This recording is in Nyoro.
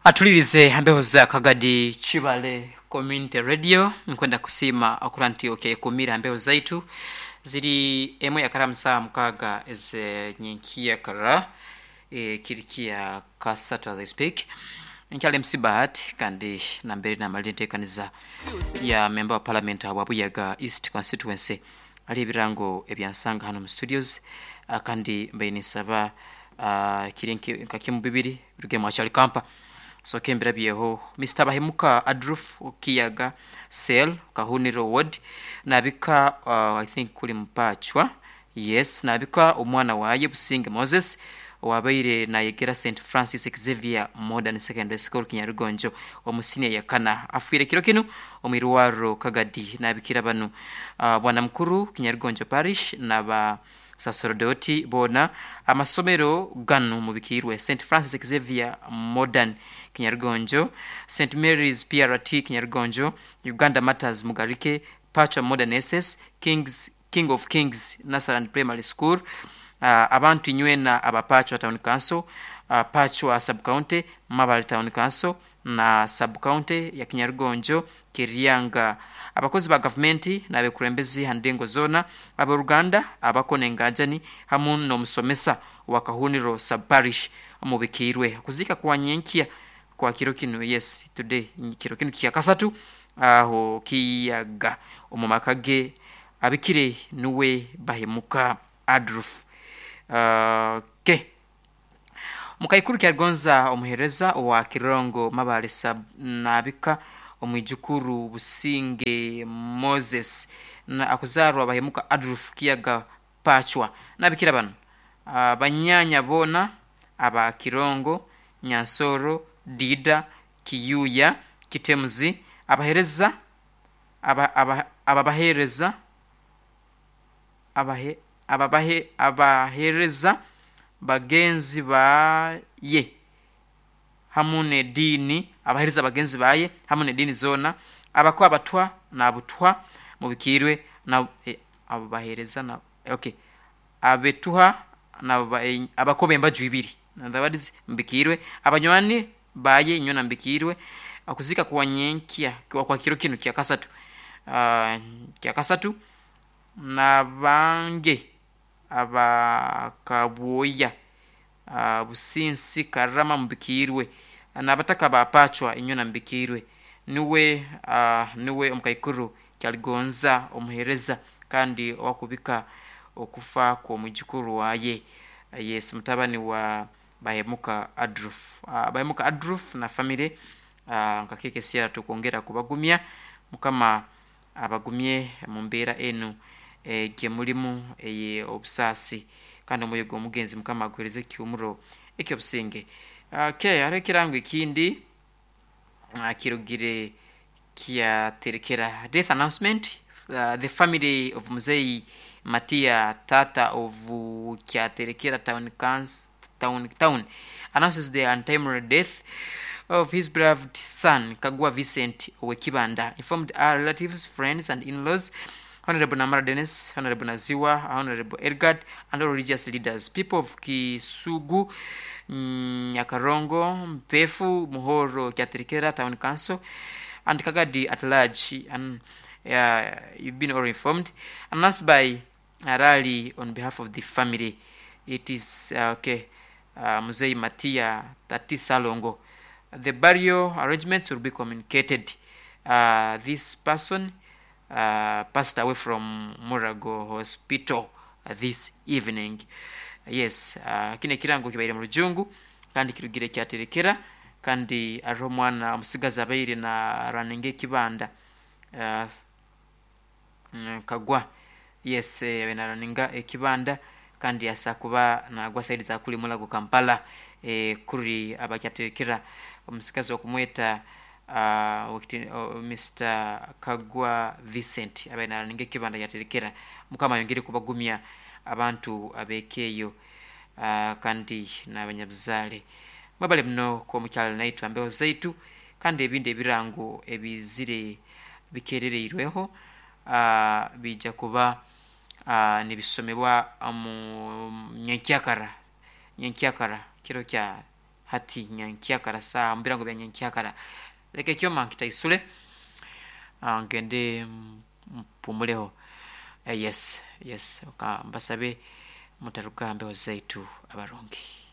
Atulirize hambeho za Kagadi Chibale Community Radio. Nkwenda kusiima okura nti okekumira hambeho zaitu ziri emwe yakara saa 6 ezenyinkiyakara, kirikia kasatu as I speak. Nkyali MC Bahati, kandi nambere namalire enteekaniza ya member wa parliament wa Buyaga East Constituency ali ebirango ebyansanga hano mu studios, kandi mbaire ninsaba kiri nka kimu bibiri biruge mwachali kampa. So kembirabyeho Mr. Bahemuka Adruf Kiyaga Cell Kahuniro Ward nabika, I think kuli mpachwa, yes, nabika omwana waye Businge Moses wabaire nayegera St Francis Xavier Modern Secondary School Kinyarugonjo omusinia yakana, afwire kiro kinu omwirwaro Kagadi. Nabikira banu bwana mukuru Kinyarugonjo Parish naba saserdoti bona amasomero ganu mubikirwe St Francis Xavier Modern Kinyarugonjo, St Mary's PRT Kinyarugonjo, Uganda Matters Mugarike, Pacha Modern SS, Kings King of Kings Nasaran Primary School, abantu inywena abapachwa Town Council, Pachwa Sub County, Mabale Town Council na Sub County ya Kinyarugonjo Kiryanga, abakozi ba gavumenti n'abekurembezi handengo zona, aboruganda abakona enganjani hamu n'omusomesa wa Kahuniro Sub Parish mubikirwe kuzika kwa nyenkia kwa kiro kinu, yes, today kiro kinu kya kasatu aho Kiyaga omu maka ge. Abikire nuwe Bahemuka Adruf. Ke mukaikuru kyaligonza omuhereza owa Kirongo Mabale Sub nabika omwijukuru Businge Moses na akuzarwa Bahemuka Adruf Kiyaga Pachwa. Nabikira bano banyanya bona aba Kirongo, Nyansoro, Dida, Kiyuya, Kitemuzi, abahereza ababahereza abahe ababahe abahereza bagenzi baye hamu nedini, abahereza bagenzi baye hamu nedini zona, abakwa abatwa nabutwa mubikirwe na abo bahereza na okay abetuha na abakobe embaju ibiri ndabadizi mbikirwe, abanywani baye inyona mbikirwe. Akuzika kwa nyenkia kwa kiro kinu kya kasatu, kya kasatu na bange abakabwoya, Businsi Karama mbikirwe, nabataka bapachwa inyona mbikirwe. Niwe niwe omukaikuru kyaligonza omuhereza kandi owakubika okufa kw'omwijukuru waye, yes, mutabani wa Bahemuka Adruf, Bahemuka Adruf na family, nkakekesiara tukwongera kubagumya. Mukama abagumye mu mbeera enu gye mulimu eye obusaasi, kandi omwoyo gw'omugenzi Mukama aguhereze ekiumuro ekyobusinge. Okay, hariho ekirango ekindi kirugire kyaterekera death announcement. The family of Muzei Matia Tata of Kyaterekera Town Council town announces the untimely death of his beloved son Kagwa Vincent Owekibanda. Informed our relatives, friends and in-laws, Honorable Namara Dennis, Honorable Naziwa, Honorable Edgard, and all religious leaders. People of Kisugu, Nyakarongo, Mpefu, Muhoro, Kyaterekera Town Council, and Kagadi at large, and you've been all informed. Announced by a rally on behalf of the family. It is okay. Muzei Matia Tati Salongo. The burial arrangements will be communicated. This person passed away from Murago Hospital this evening. Yes, kine kirango kibaire mu rujungu kandi kirugire kyaterekera, kandi ariho omwana omusigazi abaire na running ekibanda, Kagwa, yes, abaire na runninga ekibanda kandi asa kuba nagwa side za kuli Mulago Kampala, kuri abakyaterekera omusigazi okumweta Mr. Kagwa Vincent abaire na runninga ekibanda kyaterekera. Mukama ayongere kubagumya abantu abekeeyo, kandi n'abanyabuzaale. Mwebale muno kwomukyalo naitwe ambeho zaitu, kandi ebindi ebirango ebizire bikerereirweho bija kuba nibisomebwa mu nyenkyakara kiro kya Hati nyankyakara saaha mubirango bya nyenkyakara, leka ekyoma nkitaisule, ngende mpumuleho. Yes, yes, kambasabe mutaruga ha mbeho zaitu abarungi.